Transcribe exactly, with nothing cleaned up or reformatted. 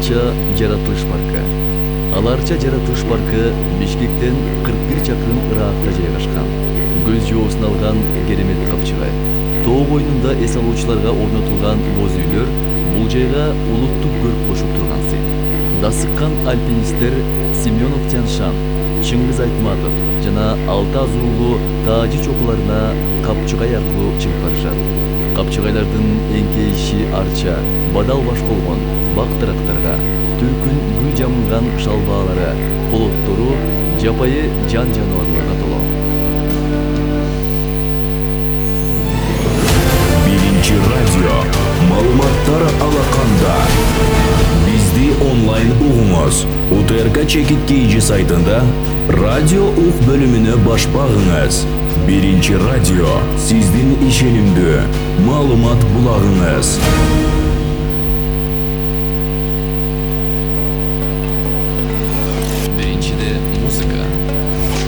Аларча жаратылыш паркы. Аларча жаратылыш паркы Бишкектен кырк бир чакырым ыраакта жайгашкан. Көз жоосун алган керемет капчыгай. Тоо боюнунда эс алуучуларга орнотулган боз үйлөр бул жайга улуттук көрк кошуп турган сый. Дасыккан альпинисттер Семенов Тяншан, Чыңгыз Айтматов жана алты азуулуу таажы чокуларына капчыгай аркылуу чыгып барышат. Капчыгайлардын эңкейиши арча, бадал баш болгон бак-дарактарга, түркүн гүл жамылган шалбаалары, полоттору жапайы жан жаныбарларга толо. Биринчи радио маалыматтар алаканда. Бизди онлайн угуңуз. УТРК Чекит Кейжи сайтында радио ук бөлүмүнө баш багыңыз. Биринчи радио сиздин ишенимдүү маалымат булагыңыз.